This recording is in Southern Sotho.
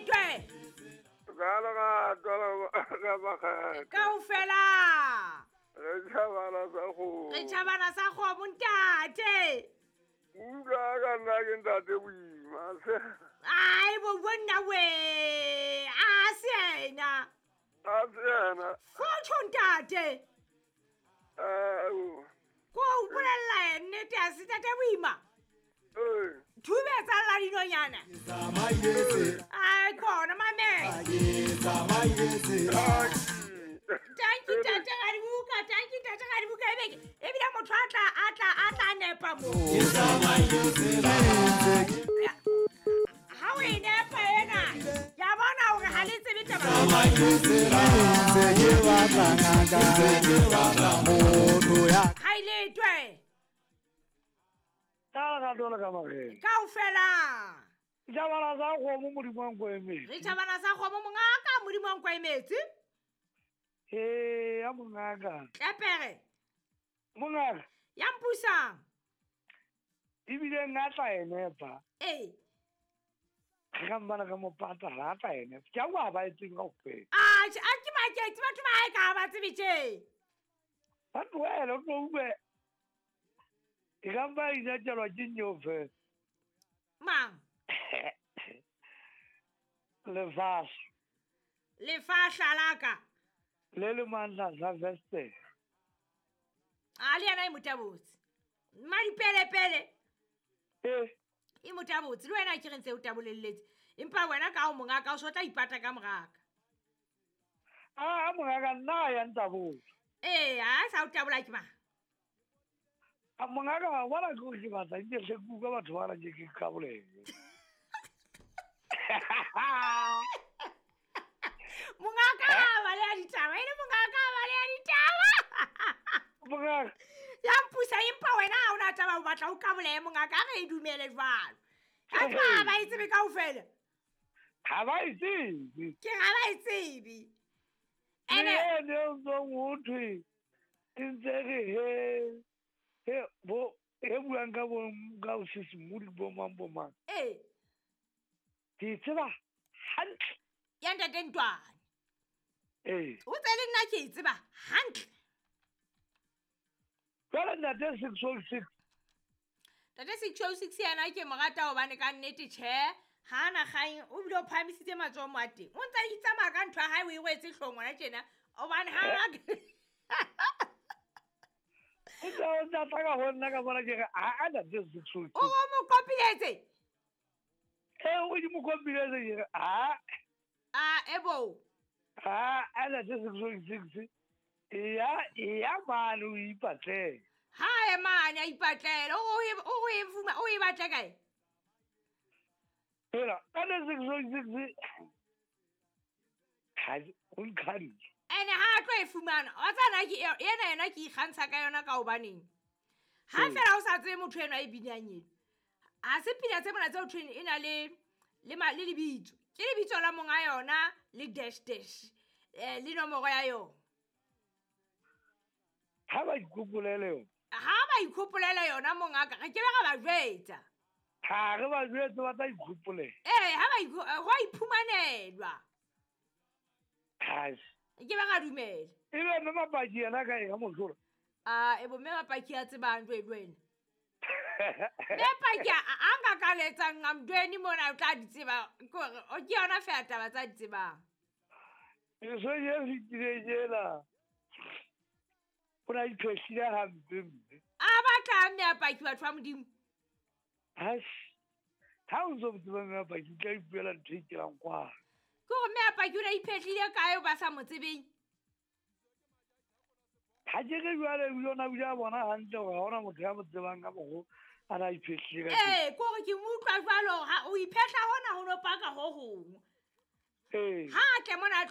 letwe. Ka lerato la makgethe. Kaofela. Re tšhabana sa kgomo. Re tšhabana sa kgomo ntate. Utlwa ka nna ke ntate boima. Ai bo bonna we. A se ena. A se ena. Fotho ntate. Ao. Ko o bolella nnete a se tate boima. Ee. Thube tsa lla dinonyana. Ai khona mamela. Tanki tate ga dibuka, tanki tate ga dibuka ebeke. Ebile motho a tla a tla a tla nepa mo. Ha o e nepa ena, ke a bona hore ha le tsebe taba. Ha e letwe. Ka lerato la ka makgethe. Kaofela. Tšhabana sa kgomo Modimo wa nko emetse. Re tšhabana sa kgomo mongaka Modimo wa nko emetse. Ee, ya mongaka. Tlepere. Mongaka. Ya mpusang. Ebile nna tla e nepa. Ee. Ge ka mbana ka mo patala a tla e nepa. Ke a kwa ba e tsebe kaofela. A ke maketse batho ba hae ka ha ba tsebe tje. Ba tlohele o tlo utlwe. E ka mpa e inatelwa ke nneo fela. Mang? Lefahla. Lefahla la ka. Le le mandla sa veste. A le yena e motabotse. Madipelepele. Ee. E motabotse le wena ke re ntse o tabolelletse. Empa wena ka o mongaka o so tla ipata ka moraka. A mongaka nna ya ntabotse. Ee, a sa o tabola ke mang? A mongaka wa bona ke ke batla ke hle ke utlwa batho ba re ke ke kabolele. Mongaka ba le a ditaba, e le mongaka ba le a ditaba. Mongaka. Ya mpusa empa wena ha ona taba o batla o kabolehe mongaka a re e dumele jwalo. Ha ba ba e tsebe kaofela. Ha ba e tsebe. Ke ha ba e tsebe. Ene ne o ntsong ho thwe e ntse re he he bo e buang ka bo ka o sesimodi bo mang bo mang. Ee. Ke tseba hantle. Ya ntate Ntwane. Ee. O tse le nna ke e tseba hantle. Jwale ntate 606. Ntate 606 yena ke mo rata hobane ka nnete tjhe ha na kgang o bile o phahamisitse matsoho mo a teng. O ntse a itsamaya ka ntho ya hae o e rwetse hloohong hona tjena hobane ha O tla tla ka ho nna ka bona ke re a ntate 606. O mo kopiletse. Ee, o di mo kopiletse ke re a. A ebo. A ntate 606. Ya mane o ipatlele. Ha e mane a ipatlela o e fuma o e batla kae? Fela ka 606 ha o nkhanne. Ene ha a tlo e fumana. Wa tsana ke ena yena ke ikgantsha ka yona ka hobaneng. Ha fela o sa tsebe motho eno a e binang eno. Ha se pina tse mona tse ho thweng e na le le lebitso. Ke lebitso la monga yona le dash dash le nomoro ya yona. Ha ba ikgopolele yona. Ha ba ikgopolele yona mongaka re ke be ra ba jwetsa. Ha re ba jwetse ba tla ikgopolela. Ee, ha ba go a iphumanelwa. Hai. Ke ba ga dumela. Ebe mme Mapaki yena ka eng mosola? A ebo mme Mapaki a tsebang jwe jwena. Mme Paki a nka ka letsa nqamdweni mona o tla di tseba ke hore o ke yona feela taba tsa di tsebang. Eso ye fetileng ena. O na iphehlile hampe mme. A batla mme Mapaki batho ba Modimo. Hai. Ha o ntso tseba mme Mapaki o tla ipuela ntho e kelang kwa. Ke hore mme Mapaki o na iphehlile kae o ba sa mo tsebeng? Ha ke re jwale o yona o ile bona hantle hore ha hona motho ya mo tsebang ka mokgo a na iphehlile ka teng. Ee, ke hore ke mo utlwa jwalo ha o iphehla hona ho no paka ho hong. Ee. Ha a tle mona a